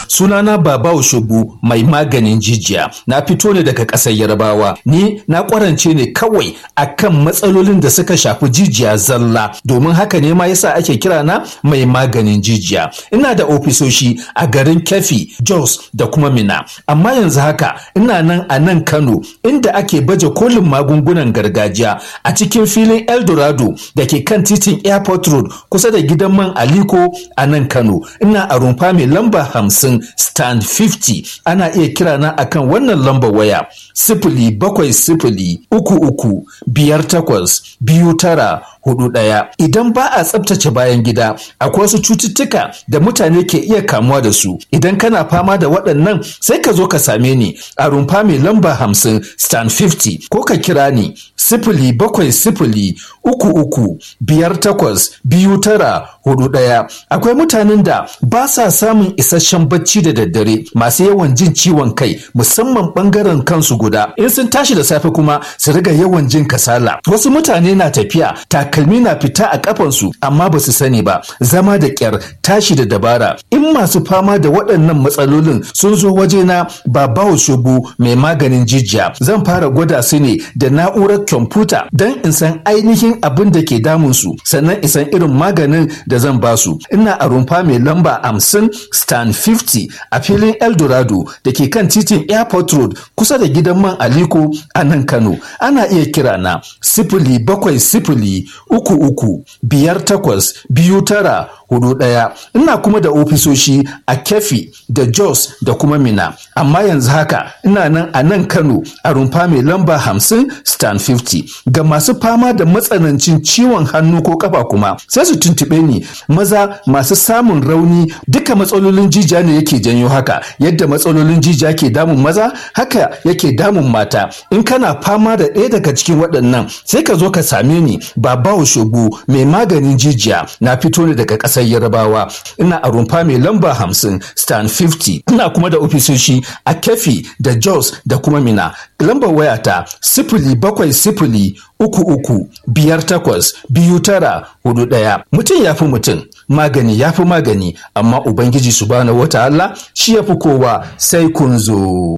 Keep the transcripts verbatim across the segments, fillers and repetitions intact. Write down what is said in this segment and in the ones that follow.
Sunana Baba Oshobu, mai maganin jijiya. Na fito ne daga ƙasar Yarbawa. Ni na ƙwarance ne kawai akan matsalolin da suka shafi jijiya zalla. Domin haka ne ma yasa ake kira na mai maganin jijiya. Ina da ofisoshi a garin Keffi, Jos da kuma Minna. Amma yanzu haka ina nan a nan Kano, inda ake baje kolin magungunan gargajiya a cikin filin Eldorado da ke kan titin Airport Road, kusa da gidan man Aliko a nan Kano. Ina a rumfa mai lamba hamsin, stand hamsin. Ana iya kira na akan wannan lambar waya: sifili bakwai sifili uku uku biyar takwas biyu tara hudu ɗaya. Idan ba a tsabtace bayan gida, akwai wasu cututtuka da mutane ke iya kamuwa da su. Idan kana fama da waɗannan, sai ka zo ka same ni a rumfa mai lamba hamsin, stand hamsin, ko ka kira ni sifili bakwai sifili uku uku biyar takwas biyu tara hudu ɗaya. Akwai mutanen da ba sa samun isasshen bacci da daddare, masu yawan jin ciwon kai, musamman ɓangaren kansu guda. In sun tashi da safe kuma su riga yawan jin kasala. Wasu mutane na tafiya, takalmi na fita a kafansu amma ba su sani ba. Zama da kyar, tashi da dabara. In masu fama da waɗannan matsalolin sun zo wajena, Babawo Shubu mai maganin jijiya, zan fara gwada su ne da na'urar kwamfuta don in san ainihin abin da ke damunsu, sannan in san irin maganin da zan ba su. Ina a rumfa mai lamba hamsin, stand hamsin, a filin Eldorado da ke kan titin Airport Road, kusa da gidan man Aliko a nan Kano. Ana iya kira na sifili bakwai sifili uku uku biyar takwas biyu tara hudu ɗaya. Ina kuma da ofisoshi a Keffi da Jos da kuma Minna. Amma yanzu haka ina nan a nan Kano a rumfa mai lamba hamsin, stand hamsin. Ga masu fama da matsanancin ciwon hannu ko kafa kuma, sai su tuntuɓe ni. Maza masu samun rauni, duka matsalolin jijiya ne yake janyo haka. Yadda matsalolin jijiya ke damun maza, haka yake damun mata. In kana fama da ɗaya daga cikin waɗannan, sai ka zo ka same ni, Babawo Shugu mai maganin jijiya. Na fito ne daga ƙasar Yarbawa. Ina a rumfa mai lamba hamsin, stand hamsin. Ina kuma da ofisoshi a Keffi da Jos da kuma Minna. Lambar wayata sifili bakwai sifili uku uku biyar takwas biyu tara hudu ɗaya. Mutum ya fi mutum, magani ya fi magani, amma Ubangiji Subhanahu wa Ta'ala shi ya fi kowa. Sai kun zo.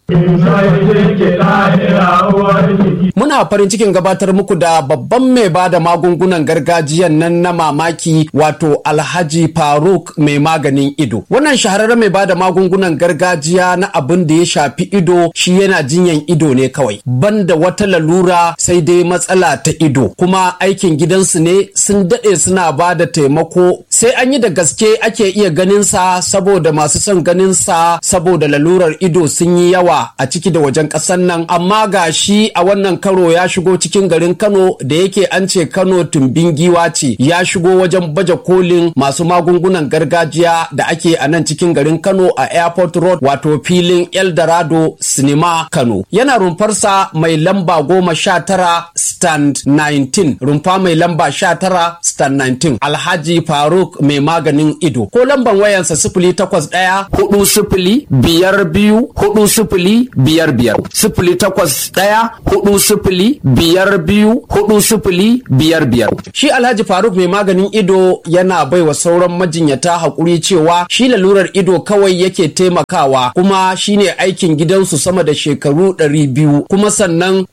Muna farin cikin gabatar muku da babban mai ba da magungunan gargajiyan nan na mamaki, wato Alhaji Faruk mai maganin ido. Wannan shahararren mai ba da magungunan gargajiya na abin da ya shafi ido, shi yana jinyan ido ne kawai. Banda wata lalura sai dai matsala ta ido. Kuma aikin gidansu ne, sun daɗe suna ba da taimako, sai an yi da gaske ake iya ganin sa, saboda masu son ganin sa saboda lalurar ido sun yi yawa a ciki da wajen ƙasar nan. Amma ga shi a wannan karo ya shigo cikin garin Kano, da yake an ce Kano tumbin giwa ce, ya shigo wajen baje kolin masu magungunan gargajiya da ake a nan cikin garin Kano a Airport Road, wato filin Eldorado Cinema Kano. Yana rumfarsa mai lamba goma sha tara, stand sha tara, rumfa mai lamba sha tara, stand sha tara, Alhaji Faruk mai maganin ido. Ko lamban wayansa sifili takwas ɗaya hudu sifili biyar biyu hudu sifili biyar biyar, sifili takwas ɗaya hudu sifili biyar biyu hudu sifili biyar biyar. Shi Alhaji Faruk mai maganin ido yana baiwa sauran majinyata haƙuri cewa shi lalurar ido kawai yake taimakawa, kuma shine aikin gidansu sama da shekaru ɗari biyu. Kuma sannan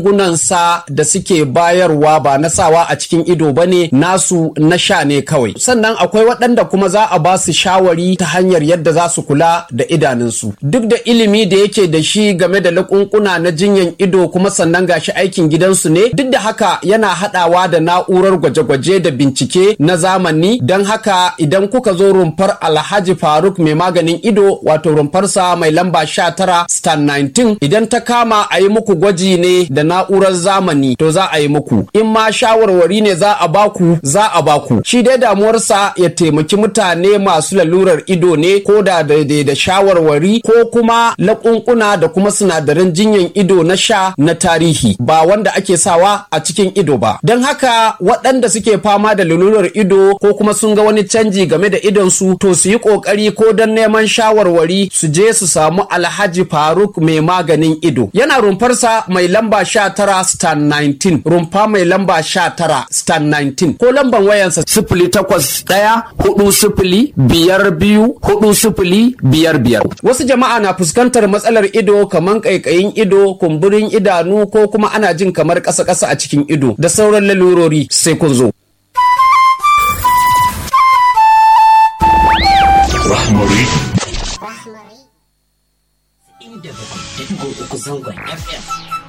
magungunansa da suke bayarwa ba na sawa a cikin ido ba ne, nasu na sha ne kawai. Sannan akwai waɗanda kuma za a ba su shawari ta hanyar yadda za su kula da idanunsu. Duk da ilimi da yake da shi game da laƙunƙuna na jinyan ido, kuma sannan gashi aikin gidansu ne, duk da haka yana haɗawa da na'urar gwaje-gwaje da bincike na zamani. Don haka idan kuka zo rumfar Alhaji Faruk mai maganin ido, wato rumfarsa mai lamba sha tara, stand sha tara, idan ta kama a yi muku gwaji ne da na'urar zamani, to za a yi muku. In ma shawarwari ne za a baku, za a baku. Shi dai damuwarsa ya taimaki mutane masu lalurar ido ne, ko da daidai da shawarwari ko kuma laƙunƙuna da kuma sinadaran jinyan ido na sha na tarihi, ba wanda ake sawa a cikin ido ba. Don haka waɗanda suke fama da lalurar ido ko kuma sun ga wani canji game da idonsu, to su yi ƙoƙari ko don neman shawarwari su je su samu Alhaji Faruk mai maganin ido. Yana rumfarsa mai lamba sha tara, stand sha tara, rumfa mai lamba sha tara, stand sha tara, ko lamban wayansa sifili takwas ɗaya ɗaya hudu sifili biyar biyu hudu sifili biyar biyar. Wasu jama'a na fuskantar matsalar ido kamar ƙaiƙayin ido, kumburin idanu ko kuma ana jin kamar ƙasa-ƙasa a cikin ido da sauran lalurori, sai kun zo. Inda bakwai da uku zangon F M.